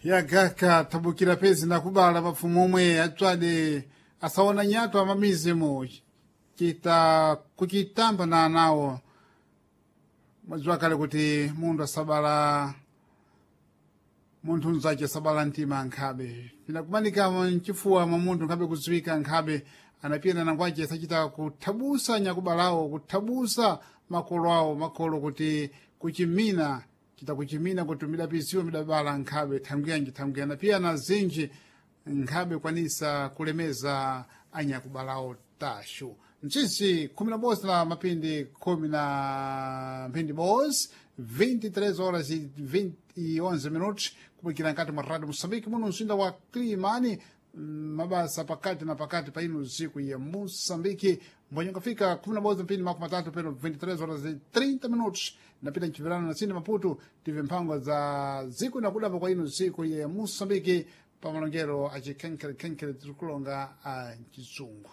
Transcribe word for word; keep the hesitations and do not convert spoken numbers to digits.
Yagaka tabukira pezi nakubala pafumu omwe atswade asaona nyato amamizimo kita kuchitamba na anawo. Mwadziwa kale kuti munthu asabala munthu mzace sabala mtima nkhabe pinakumanika mchifuwa mwa munthu nkhabe kudziwika nkhabe anapiyana nangwace sachita kuthabusa nyakubalawo, kuthabusa makolo awo, makolo kuti kuchimina chita kuchimina kuti midapisiwa midabala nkhabe thangwiyanji thangwiya anapiyana zinji nkhabe kwanisa kulemeza anyakubalawo tashu. Mchinsi khumi na bosi na mapindi khumi na mphindi bosi, vinte e três horas e vinte e onze minutos, kupikira nkati mwa Radio Moçambique muno mzinda wa Climane, mabasa pakati na pakati pa ino ziku ya Moçambique. Mbonye kafika kumi na bozi mpindi makumi matatu peno, vinte e três horas e trinta minutos, napita mchivirano na sini Maputo tive mphango za ziku nakudapa kwa ino ziku ya Moçambique pa malongero acikhenkherekhenkhere tirikulonga a mchizungu.